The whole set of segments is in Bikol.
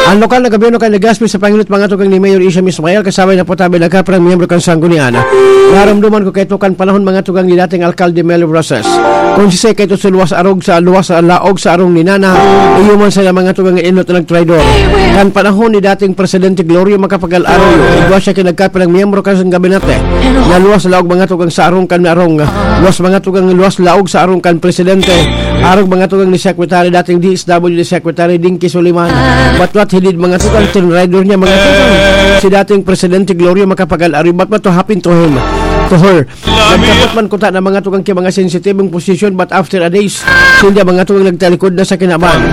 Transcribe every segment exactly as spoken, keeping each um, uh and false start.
Ang lokal na gobyerno kan Legazpi sa pangenot mga tugang ni Mayor Isham Ismail, kasabay na po tabi nagkaparang miyembro kan Sanggunian. Narumduman ko kaito kan panahon mga tugang ni dating Alkalde Mel Rosas. Kung sisay kaito sa luwas arog sa luwas sa laog sa arong ni Nana, iyo man sa mga tugang inot na nagtraidor. Kan panahon ni dating Presidente Gloria Macapagal Arroyo, igwa siya kinagkaparang miyembro kan gabinete. Na luwas laog mga tugang sa arong kan arong, luwas mga tugang luwas laog sa arong kan Presidente. Arog mga tugang ni Secretary, dating D S W D Secretary Dinky Suliman. Batwat hilid mga tugang, tinraidor niya mga tugang. Si dating Presidente Gloria Macapagal Arroyo, batwat to happen to him, to her. Nagkapot man kuta na mga tugang ki mga sensitibong posisyon, but after a days, sinda mga tugang nagtalikod na sa kinaban.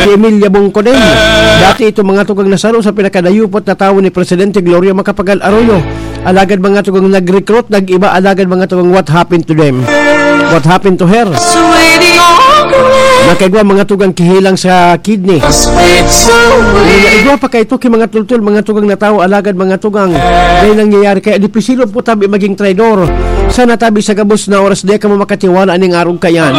Si Emilia Bongko din. Dati ito mga tugang nasaro sa pinakadayupot na tawo ni Presidente Gloria Macapagal Arroyo. Alagad mga tugang nag-recruit, nag-iba, alagad mga tugang what happened to them? What happened to her? Nakaigwa mga tugang kihilang sa kidney. Igwa pa kaito ki mga tultol, mga tugang na tawo, alagad mga tugang, may nangyayari kaya dipisil po tabi maging traidor. Sana tabi sa gabos na oras di kamo makatiwala ning arog kayan.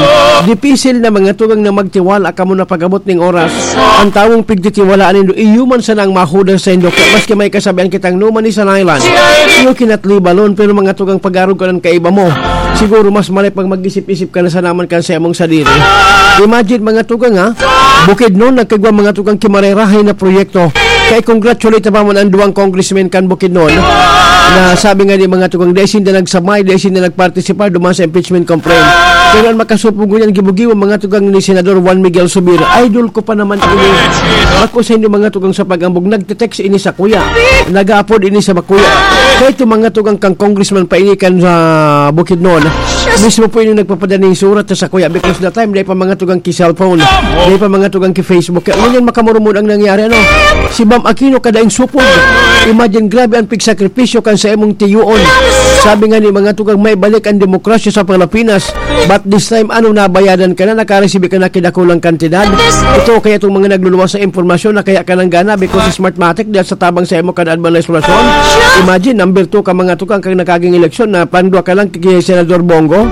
Dipisil na mga tugang na magtiwala kamo na pagabot ning oras. Ang tawong pigtitiwalaan nindo, iyo man sana ang mahudas sa indo. Kaya maski may kasabihan kitang no man is an island, you cannot leave alone. Pero mga tugang pag-arog ka ng kaiba mo, siguro mas malay pag mag-isip-isip ka na sa naman kan sa imong sadiri. Imagine mga tugang ha, Bukidnon, nagkagwa mga tugang kimarerahay na proyekto. Kaya congratulate pa man ang duwang congressmen kan Bukidnon na sabi nga ni mga tugang, dahil sinda nagsamay, dahil sinda nagparticipar duman sa impeachment complaint. Pero ang makasupog ngunyan, gibo-gibo mga tugang ni Senador Juan Miguel Subir. Idol ko pa naman ini. Ako sa inyo mga tugang sa pag-ambog, nagte-text ini sa kuya. Nag-aapod ini sa makuya. Kaya itong mga tugang kang congressman pa ini kan sa Bukidnon, mismo po ini nagpapadala ng surat sa kuya because that time, dahil pa mga tugang ki cellphone, dahil pa mga tugang ki Facebook. Kaya ngunyan makamurumod ang nangyari, ano? Si Bam Aquino kadaing supog. Imagine, grabe ang pigsakripisyo kan sa imong tiyoon. Sabi nga ni mga tugang, may balik ang demokrasya sa Pilipinas. But this time, ano, nabayadan ka na, nakaresibi ka na kidakulang kantidad. Ito kaya itong mga nagluluwas sa impormasyon na kaya ka nang gana because Smartmatic diyan sa tabang sa imo kan administrasyon. Imagine, number two ka mga tugang kang nagkaging eleksyon na pandwa ka lang kay Senador Bong Go.